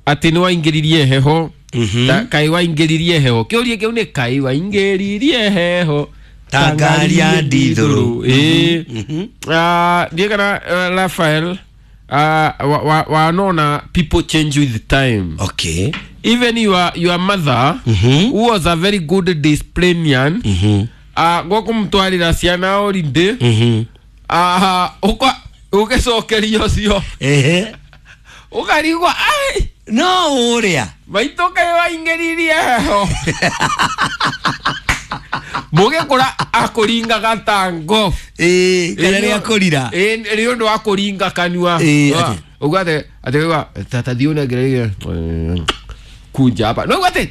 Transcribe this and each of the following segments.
Atä nä waingä heho. Kaä waingä heho, kä å rie kä u nä kaä waingä heho Ta ngari ya ndithũrũ. Ä ndiä kana Rafael, wanona people change with time. Even your mother, who was a very good disciplinarian, gwakå ciana holiday, ũgĩcokeria ũcio ũkarigwo ai. No ũrĩa Maitũ, kaĩ waingĩririe heho? Mũgĩkũra akũringaga ta ngo. Ĩĩ, kana rĩa kũrira. Ĩĩ, nĩ ũndũ wa kũringa kanua. Ĩĩ, atĩ. Ũguo atĩ ũguo tata thiĩ ũnengereire kunja hapa no atĩ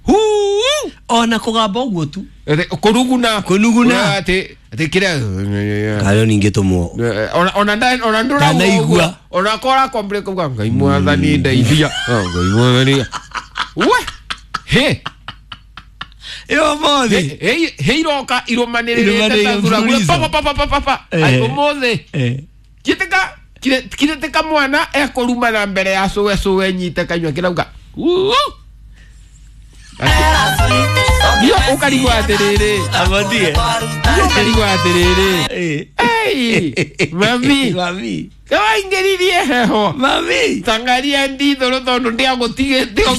huu. Ona kũgamba ũguo tu. Atĩ kũruguna. Kũnuguna. Atĩ kĩrĩa. Kayo ningĩ tũmwo. Ona ndũraigua. Ndanaigua. Ona kora kombre kuga Ngai mwathani ndeithia. Oh, Ngai mwathani we he. Ĩyo mothe. He iroka irumanĩrĩrĩte ta Irũmanĩrĩire thuraku. mfululizo. Pa pa pa pa pa pa. Ai, ũmũthĩ kitika kitika mwana ekurumana mbere ya cũwe, cũwe nyite kanyua kĩrauga "Uu." Ndio ũkarigwo atĩrĩrĩ. Amothie. Ndio ũkarigwo atĩrĩrĩ. Ei, mami. Mami. Kawaingĩririe heho Mami. tangaria ndithũrũ tondũ ndiagũtigĩte.